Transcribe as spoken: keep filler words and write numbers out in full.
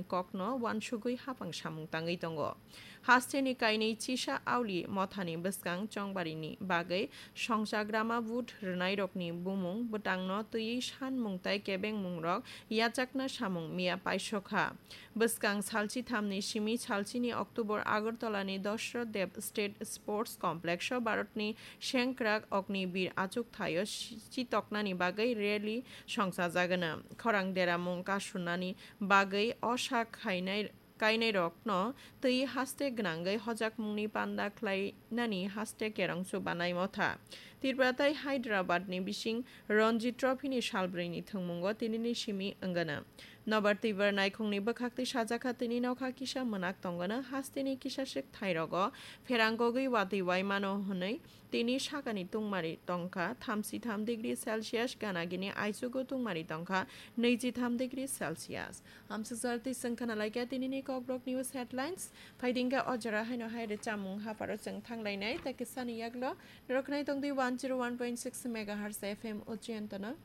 kokno uansugwi hapang samung tangwi tongo. Hasteni kainwi chisa auli mothani bwskang chongbarini bagwi songchagrama vote rwnairokni bumung bwtangno twiwi sanmung tai kebengmungrok yachakna samung miya paisokha. Bwskang salchithamni simi salchini October Agartalani Dashrath Dev State Sports Complex-o Bharatni sengkrak Agnibir achukthaio si-, chitoknani bagwi rally songchajagwna. Khorang deramung kasunani bagwi o sak khainai kainairokno twi haste gwnangwi hojakmungni panda khlainani haste kerongsu banai motha. Tripura tai Hyderabadni bising Ranji Trophyni salbrwini thwngmungo tinini simi wngana. Nobar twibar naikhungni bwkhaktwi sajakha tini nokha kisa mwnak tongana hasteni kisaswk thairogo pherangogwi watwi waimano hwnwi tini sakani tungmari tongkha thamsitham degree Celsius, ganagini aichugo tungmari tongkha nwijitham degree Celsius. Amsukjal twi chwng khana laikha tinini Kokborok News Headlines. Phaidingkha o jora haino hai rwchapmung hapharo chwng thanglainai, tei kisani yaklo norok khnai tongdi one zero one point six megahertz F M Ujjaintono.